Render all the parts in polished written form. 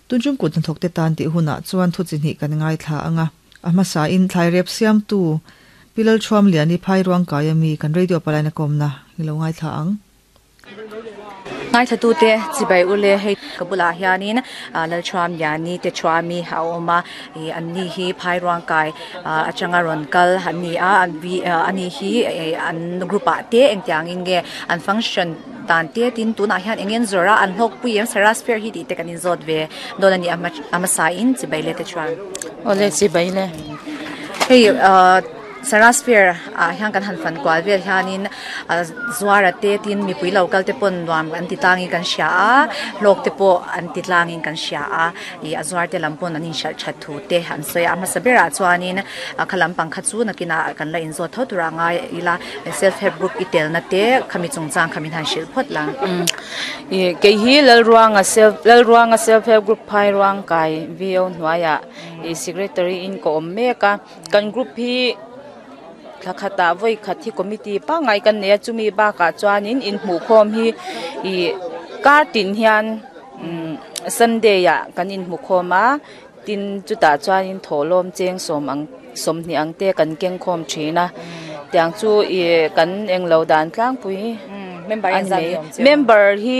Tunchung kut hnathawk te tan tih hunah chuan thu chi hnih kan ngaithla ang a, a hmasa in thlai rep siamtu Pi Lalthuamliani Phairuang kai ami kan radio palaina kawmna i lo ngaithla ang. Ngaithlatute chibai ule hei ka bulah hianin Lalthuamliani te thuami a awm a ih an ni hi Phairuang kai atanga rawn kal an ni a ani hi an group ah te engtiangin nge an function dan te tin tunah hian eng nge an zawrh a an hlawkpui em Saras fair hi tih te kan inzawt ve dawn a ni a hmasa in chibai le te chuan. Awle chibai le. Hei ah. Saras fair ah hian kan han fan kual vel hianin zuara te tin mipui lo kal te pawn nuam an ti tlangin kan hria a hlawk te pawh an ti tlangin kan hria a ih a zuar te lam pawn an inhralh that thu te an sawi a a hmasa berah chuanin a kha lampang kha chu nakinah kan la inzawt tho tur a ngai ila self help group i telna te khami chungchang kha min han hrilh phawt la. Ih kei hi Lalruanga self Lalruanga self help group Phairuang kai VO hnuaiah ih secretary in ka awm mek a. Kan group hi thla khatah vawi khat hi committee pangngai kan nei a chumi bakah chuanin inhmuhkhawm hi ih kar tin hian umm sunday ah kan inhmukhawm a tin chutah chuanin thawhlawm cheng sawm ang sawmhnih ang te kan keng khawm thin a tiang chu ih kan englo dan tlangpui a ni mai member hi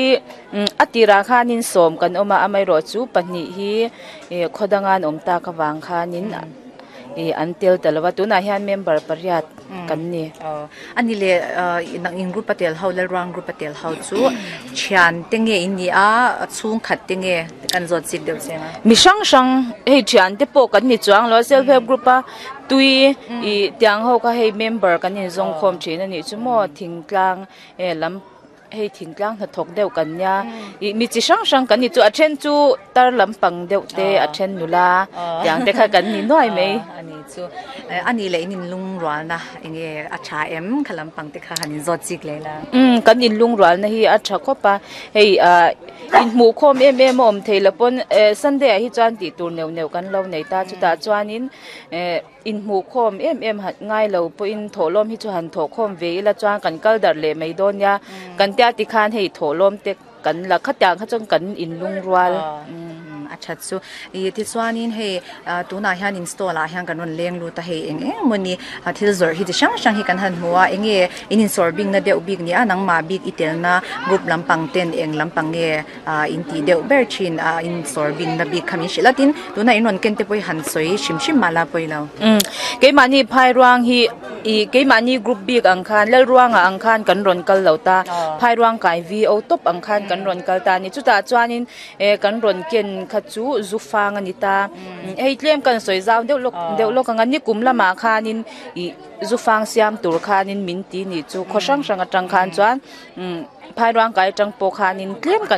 a tirah khanin sawm kan awm a amaherawhchu pahnih hi ih khaw danga an awm tak avang khanin. Ih an tel ta lo a tunah hian member pariat kan ni. A ni leh nang in group a tel ho Lalruang group a tel ho chu thian te nge in ni a chhungkhat te nge kan zawt chik deuh cheng a. Mi hrang hrang hei thian te pawh kan ni chuang lo a self help group a tui ih tiang ho kha hei member kan inzawng khawm thin a nih chu maw thingtlang lam. Hei thingtlang hnathawk deuh kan nia ih mi chi hrang hrang kan ni chu a then chu tar lampang deuh te a then nula tiang te kha kan ni nuai mai. A ni chu a nih leh in inlungrualna eng nge a tha em kha lampang te kha han inzawt chik leh la. Umm kan inlungrualna hi a tha khawp a hei ah inhmuhkhawm em em a awm thei lo pawn eh sunday ah hi chuan tih tur neuh neuh kan lo nei ta chutah chuanin eh. Inhmuhkhawm em em han ngai lo pawhin thawhlawm hi chu han thawhkhawm ve ila chuan kan kal darh leh mai dawn nia. Kan tia tikhan hei thawhlawm te kan la khatiang kha chuan kan inlungrual. A that chu. Ih tichuanin hei tunah hian in stall ah hian kan rawn leng lut a hei eng eng maw ni thil zawrh hi chi hrang hrang hi kan han hmu a eng nge in insawr bikna deuh bik nia nangmah bik i telna group lampang ten eng lampang nge Ah in tih deuh ber thin a in sawr bingna bik kha min hrilh a tin tunah in rawn ken te pawh hi han sawi hrim hrim mah la pawi lo. Umm keimahni Phairuang hi ih keimahni group bik ang khan Lalruanga ang khan kan rawn kal lo ta Phairuang kai VO tawp ang khan kan rawn kal ta a ni chutah chuanin eh kan rawn ken kha chu zu fang a ni ta hei tlem kan sawi zau deuh lawk deuh lawk ang a nikum lamah khanin ih zu fang siam tur khanin min ti nih chu khaw hrang hrang atang khan chuan umm. Phairuang kai atang pawh khanin tlem kan.